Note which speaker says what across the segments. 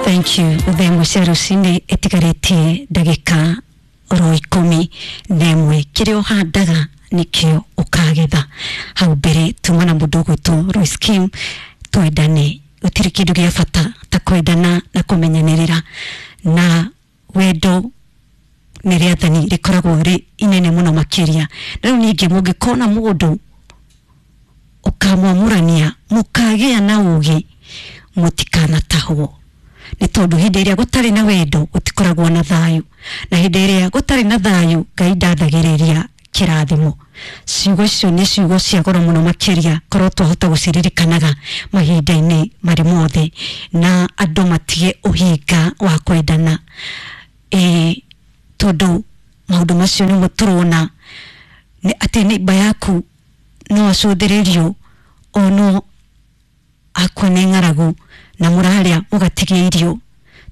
Speaker 1: Thank you. Thaa ĩmwe cia rũcinĩ ĩtigarĩtie ndagĩka oro 11. Kĩrĩa ũhandaga nĩkĩo ũkagetha. Hau mbere tuma na mũndũ ũgwĩtwo Royce Kim, twendane. Gũtirĩ kĩndũ gĩa bata ta kwendana na kũmenyanĩrĩra, na wendo nĩ rĩathani rĩkoragwo rĩ inene mũno makĩria. Na rĩu ningĩ mũngĩkona mũndũ ũkamwamũrania, mũkagĩa na ũgĩ, mũtikanatahwo, nĩ tondũ hĩndĩ ĩrĩa gũtarĩ na wendo gũtikoragwo na thayũ, na hĩndĩ ĩrĩa gũtarĩ na thayũ Ngai ndathagĩrĩria kĩrathimo. Ciugo icio nĩ ciugo cia goro mũno makĩria, korwo twahota gũciririkanaga mahinda-inĩ marĩ mothe, na andũ matige ũhinga wa kwendana, ĩ tondũ maũndũ macio nĩmo tũrona nĩ atĩ neighbor yaku no acũthĩrĩrio ono akua nĩ ng'aragu na mũrarĩa mũgatigia irio,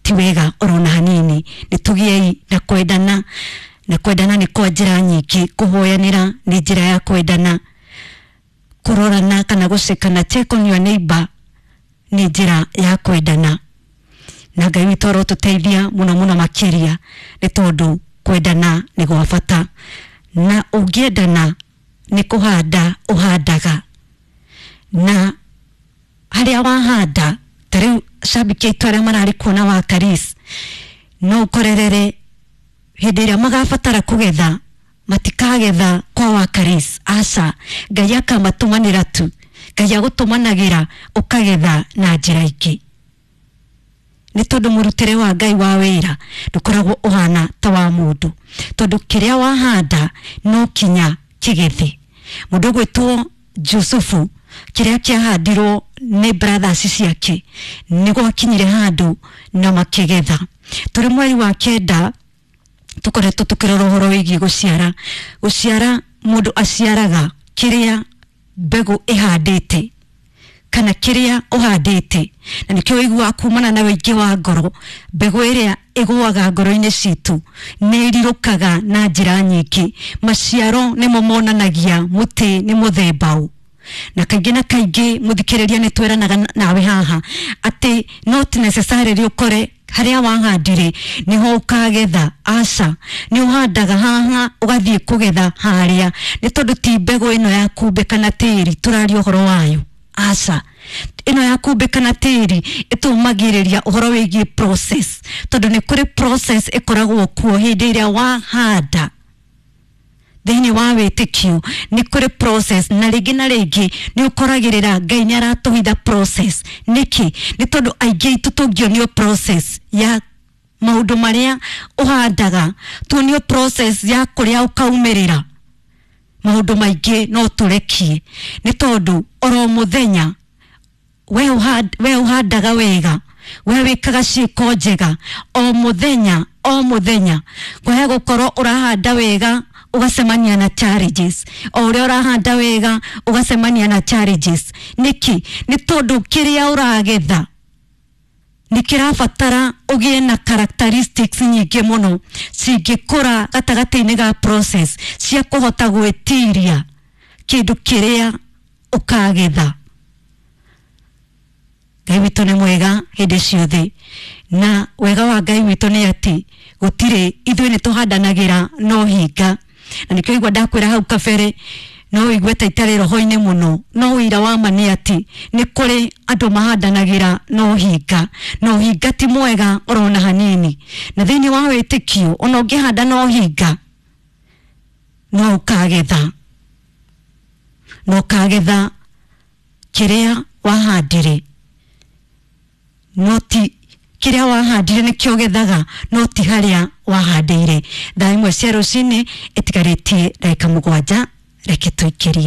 Speaker 1: ti wega orona hanini. Nĩ tũgĩei na kwendana, na kwendana nĩ kwa njĩra nyingĩ. Kũhoyanĩra nĩ njĩra ya kwendana, kũrorana kana gũcekana, check on your neighbor, nĩ njĩra ya kwendana. Na Ngai witũ arotũteithia mũno mũno makĩria, nĩ tondũ kwendana nĩ gwa bata, na ũngĩendana nĩ kũhanda ũhandaga, na harĩa wahanda, ta rĩu cambiki aitũ arĩa mararĩ kuona wa Karis, no ũkorerere hĩndĩ ĩrĩa magabatara kũgetha, matikagetha kwa wa Karis, aca. Ngai akamatũmanĩra tu. Ngai agũtũmanagĩra ũkagetha na njĩra ingĩ, nĩ tondũ mũrutĩre wa Ngai wa wĩra ndũkoragwo ũhana ta wa mũndũ, tondũ kĩrĩa wahanda no kinya kĩgethe. Mũndũ ũgwĩtwo Jusufu, kĩrĩa kĩahandirwo nĩ brothers ciake nĩ gwakinyire handũ na makĩgetha. Tũrĩ mweri wa 9, tũkoretwo tũkĩrora ũhoro wĩgiĩ gũciara. Gũciara, mũndũ aciaraga kĩrĩa mbegũ ĩhandĩte kana kĩrĩa ũhandĩte, na nĩkĩo ũiguaga kumana na wĩingĩ wa ngoro, mbegũ ĩrĩa ĩgũaga ngoro-inĩ citũ nĩ ĩrirũkaga na njĩra nyingĩ. Maciaro nĩmo monanagia mũtĩ nĩ mũthemba ũ. Na kaingĩ na kaingĩ, mũthikĩrĩria, nĩ tweranaga nawe haha atĩ not necessarily ũkore harĩa wahandire niho ũkagetha, aca. Nĩ ũhandaga haha ũgathiĩ kũgetha harĩa, nĩ tondũ ti mbegũ ĩno ya kumbe kana tĩri tũraria ũhoro wayo, aca. Ĩno ya kumbe kana tĩri ĩtũmagĩrĩria ũhoro wĩgiĩ process, tondũ nĩ kũrĩ process ĩkoragwo kuo hĩndĩ ĩrĩa wahanda thĩinĩ wa wĩtĩkio. Nĩ kũrĩ process, na rĩngĩ na rĩngĩ nĩ ũkoragĩrĩra Ngai nĩ aratũhitha process. Nĩkĩ? Nĩ tondũ aingĩ aitũ tũngĩonio process ya maũndũ marĩa ũhandaga, tuonio process ya kũrĩa ũkaumĩrĩra, maũndũ maingĩ no tũrekie, nĩ tondũ oro mũthenya we ũhandaga wega, we wĩkaga ciĩko njega o mũthenya o mũthenya, kwahe gũkorwo ũrahanda wega ũgacemania na challenges, o ũrĩa ũrahanda wega ũgacemania na challenges. Nĩkĩ? Nĩ tondũ kĩrĩa ũragetha nĩ kĩrabatara ũgĩe na characteristics nyingĩ mũno cingĩkũra gatagatĩ-inĩ ga process cia kũhota gwĩtiria kĩndũ kĩrĩa ũkagetha. Ngai witũ nĩ mwega hĩndĩ ciothe, na wega wa Ngai witũ nĩ atĩ gũtirĩ ithuĩ nĩ tũhandanagĩra no hinga. Na nĩkĩo igua ndakwĩra hau kabere, no ũigue ta itarĩ roho-inĩ mũno, no ũira wa ma nĩ atĩ nĩ kũrĩ andũ mahandanagĩra no hinga, na ũhinga ti mwega orona hanini. Na thĩinĩ wa wĩtĩkio, ona ũngĩhanda no hinga, no ũkagetha, na ũkagetha kĩrĩa wahandire. No ti kĩrĩa wahandire nĩkĩo ũgethaga, no ti harĩa wahandĩire. Thaa 1 cia rũcinĩ ĩtigarĩtie ndagĩka 7, reke tũikĩrie.